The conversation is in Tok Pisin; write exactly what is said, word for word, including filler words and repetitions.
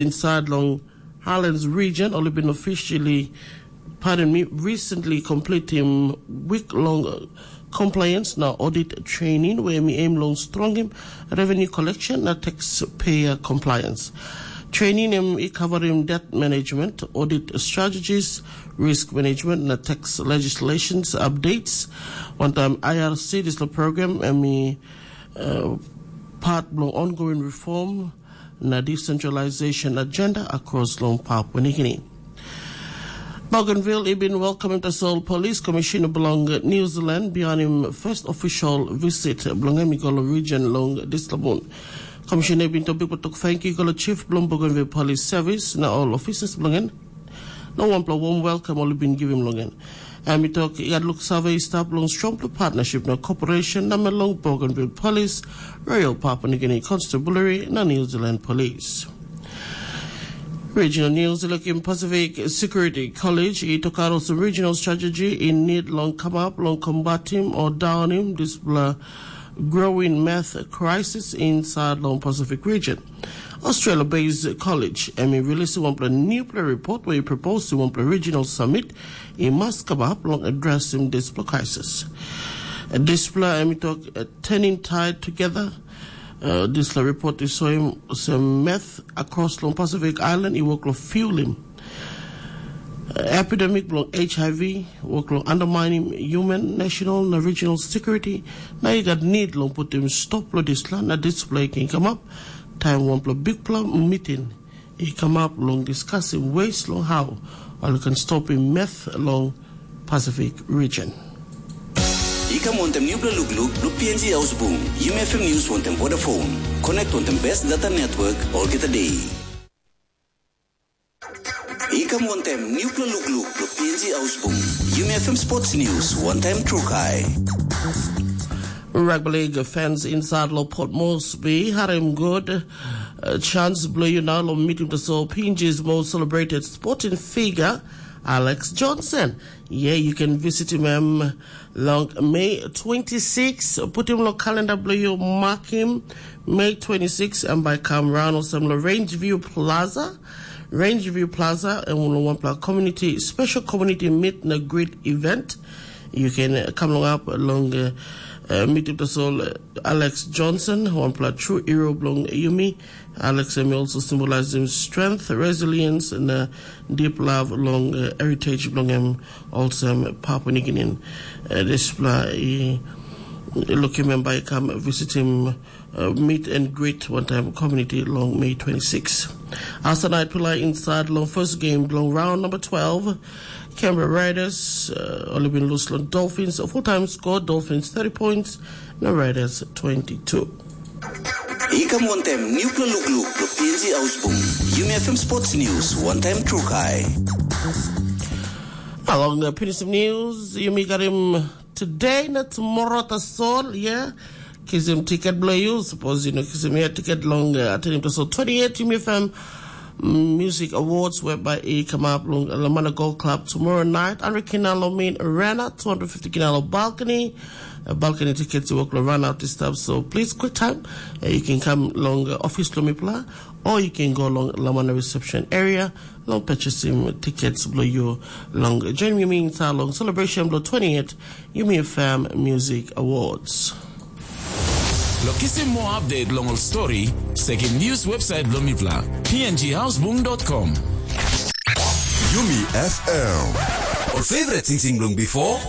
inside long Highlands region, ol i bin officially, pardon me, recently completing week-long uh, compliance na audit training where mi aim long strongim revenue collection na taxpayer compliance. Training em i covering debt management, audit strategies, risk management na tax legislations updates. One time I R C, this program, em i uh, part bilong ongoing reform na decentralization agenda across long Papua New Guinea. Bougainville i bin welcoming tasol police commissioner bilong New Zealand beyond him first official visit bilong him i go long region long dislabun. Commissioner i bin tok bikpela tok thank you go long chief bilong Bougainville Police Service na all officers bilong en. Na wanpela warm welcome ol i bin givim long en. Em i tok i gat luksave i stap long strongpela partnership na cooperation na me long Bougainville Police, Royal Papua New Guinea Constabulary na New Zealand Police. Regional News, lukim Pacific Security College i tokaut olsem regional strategy i need long kamap long combating or downing dispela growing meth crisis inside long Pacific region. Australia-based college em i release wanpela newpela report where i propose to wanpela regional summit i must come up long addressing dispela crisis. Dispela em i tok uh, turning tide together. Uh, dispela report i soim olsem meth across long Pacific Island i work long fuelim uh, epidemic bilong H I V, work long undermining human, national na regional security, na i gat need long putim stop long dispela na dispela i ken kamap taim wanpela bikpela meeting i kamap long discussing ways long how ol i can stopim meth long Pacific region. I kam wantem nupela lukluk long P N G Ausbung, Yumi F M News wantem Vodafone. Connect wantem best data network olgeta day. I kam wantem nupela lukluk long P N G Ausbung, Yumi F M Sports News wantem Trukai. Rugby League fans inside lo Port Moresby, harim good uh, chance bilong you now lo meeting the so P N G's most celebrated sporting figure, Alex Johnson. Yeah, you can visit him um, long May twenty-six. Put him lo calendar bilong you, mark him May twenty-six, and by come around or some lo Range View Plaza. Range View Plaza, and one community special community meet na great event. You can uh, come along up along uh, uh, meet up the soul uh, Alex Johnson, one pla true hero belong Yumi. Alex Yumi also symbolizes strength, resilience, and uh, deep love along uh, heritage belong him. Also, um, Papua New Guinean. Uh, this pla, uh, look him and by come visit him uh, meet and greet one time community long May twenty-six. After night pila inside long first game long round number twelve, Canberra Raiders uh, only been loose long Dolphins. A full time score, Dolphins thirty points, no Raiders twenty-two. Ikam wantem nupla lukluk lo P N G Ausbung. Yumi F M Sports News, one time true kai. Along the P N G News, Yumi got him today, na tomorrow tasol, yeah. Kisim tiket bilong you, suppose you know kisim here tiket long uh, atenim tasol twenty-eight Yumi F M Music Awards whereby it come up long Lamana Gold Club tomorrow night. Andre Kinalo main arena, two hundred fifty Kinalo balcony. Uh, balcony tickets you work run out this stuff, so please quick time. Uh, you can come long uh, office Lumipla or you can go long Lamana reception area. Long purchasing tickets bilong you long join me inside long celebration bilong twenty-eight Yumi F M Music Awards. Lo kisim moa update long ol stori, sekim news website bilong mipela, P N G houseboom dot com. Yumi F M. Ol favorite tingting bilong before,